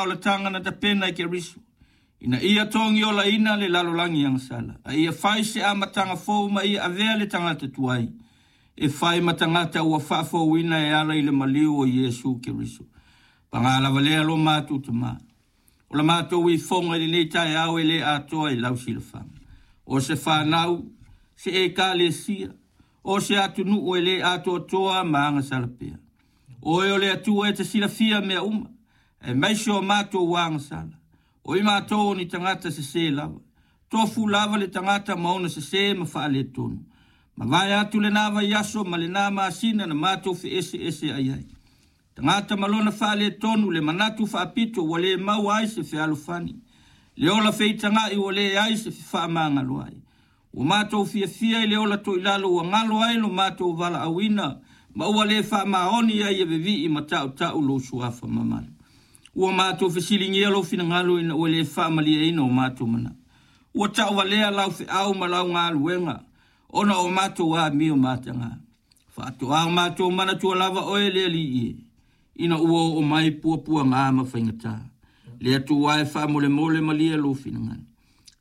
olataga na tapena e Keriso, ina ia togiolaina le lalolagi agasala, a ia fai se amataga fou ma ia avea le tagata tuai e fai ma tagata ua faafouina e ala i le maliu o Iesu Keriso. Paga lava lea lo matou Tamā. O la matou ifoga i lenei taeao e le atoa i lau silafaga. O se fanau, se ekalesia, o se atunuu e le atoatoa ma agasala pea. Oe o le Atua e te silafia mea uma, aemaise o matou agasala. O i matou o ni tagata sesē lava. Tofu lava le tagata ma ona sesē ma faaletonu. Mavae atu lena vaiaso ma lena masina na matou feeseeseai ai. Tagata ma lona faaletonu, le manatu faapito ua le maua ai se fealofani, le ola feitaga'i ua leai se fefaamagalo ai. Ua matou fiafia i le ola toilalo ua galo ai lo matou valaauina ma ua le faamaoni ai e vevii ma tautau lou suafa mamalu. Ua matou fesiligia lou finagalo ina ua le faamalieina o matou manao. Ua tauvalea lau feau ma lau galuega ona o matou amio mataga. Faatoa o matou manatua lava oe le Alii e, ina ua oo mai puapuaga ma faigata. Le Atua e faamolemole malie lou finagalo.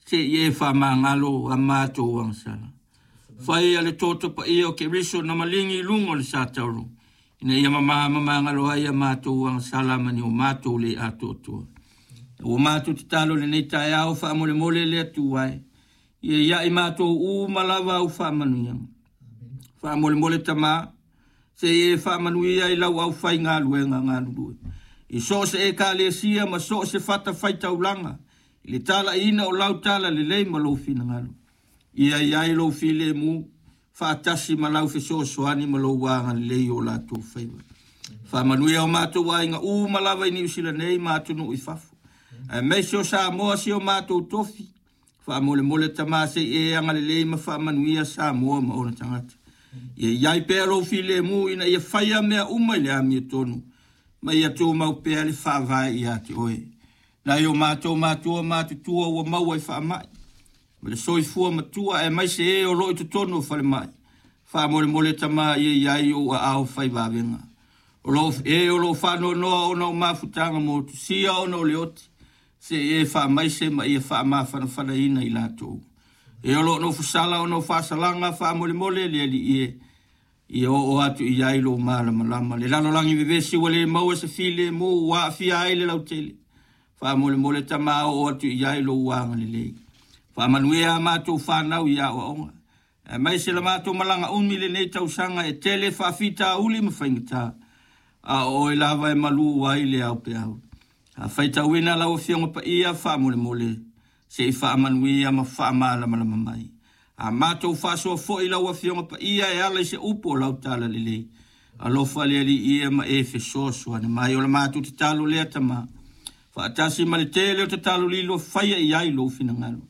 Se i e faamagalo a matou agasala. Faia le toto paia o Keriso na maligi i luga o le satauro, ina ia mama ma magalo ai a matou agasala ma ni o matou le atoatoa. Ua matou tatalo i lenei taeao faamolemole le Atua e, ia ia i matou uma lava au faamanuiaga. Faamolemole Tamā, se i e faamanuia i lau aufaigaluega galulue. I so o se ekalesia ma so o se fatafaitaulaga, i le talaiina o lau talalelei ma lou finagalo. Ia i ai lou filemu, faatasi ma lau fesoasoani ma lou agalelei i o latou faiva. Faamanuia o matou aiga uma lava i Niu Sila nei ma atunuu i fafo, aemaise o Samoa si o matou tofi. Faamolemole Tamā se i e agalelei ma faamanuia Samoa ma ona tagata. Ia i ai pea lou filemu ina ia faia mea uma i le amiotonu, ma ia tumau pea le faavae ia te oe. Nai o matou matua matutua ua maua i faamai, ma le soifua matua, aemaise e o lo o i totonu o falemai. Faamolemole Tamā ia i ai ou aao fai vavega. O lo e o lo o faanoanoa ona o mafutaga motusia ona o le oti, se i e faamaise ma ia faamafanafanaina i latou. E o lo o nofosala ona o faasalaga, faamolemole le Alii e, ia oo atu i ai lou malamalama. Le lalolagi vevesi ua le maua se filemu ua aafia ai le lautele. Faamolemole Tamā oo atu i ai lou agalelei. Faamanuia a matou fanau i aoaoga, aemaise la matou malaga umi i lenei tausaga e tele faafitauli ma faigata, a o oe lava e malū ai le aupeau. A faitauina lau Afioga Paia, faamolemole se i faamanuia ma faamalamalama mai. A matou faasoa foi lau Afioga Paia e ala i se upu o lau talalelei. Alofa le Alii e ma e fesoasoani mai. O le matou tatalo lea Tamā, faatasi ma le tele o tatalo lilo faia i ai lou finagalo.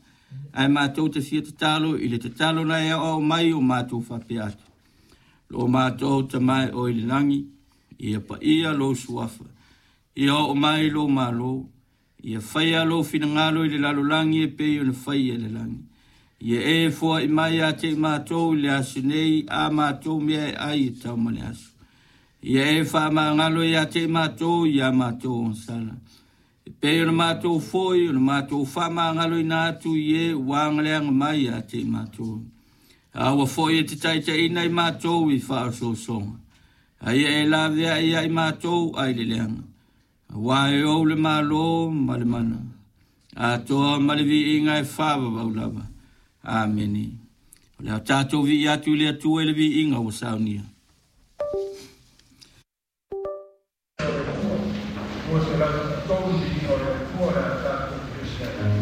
Ae matou te fia tatalo i le tatalo na e aoao mai o matou faapea atu. Lo matou Tamā e oe i le lagi, ia paia lou suafa, ia oo mai lou malo, ia faia lou finagalo i le lalolagi e pei ona faia i le lagi. Ia e foai mai ia te i matou i le aso nei a matou mea e ai e tau ma le aso. Ia e faamagalo ia te i matou ia matou agasala. E pei ona matou foi ona matou faamagaloina atu i e ua agaleaga mai ia te i matou. Aua foi e te taitaiina i matou i faaosoosoga. A ia e laveai ia i matou ai le leaga. Aua e ou le malo ma le mana, atoa ma le viiga e faavavau lava. Amene. O le a tatou vii atu i le Atua i le viiga ua saunia. 203 viiga o le Atua.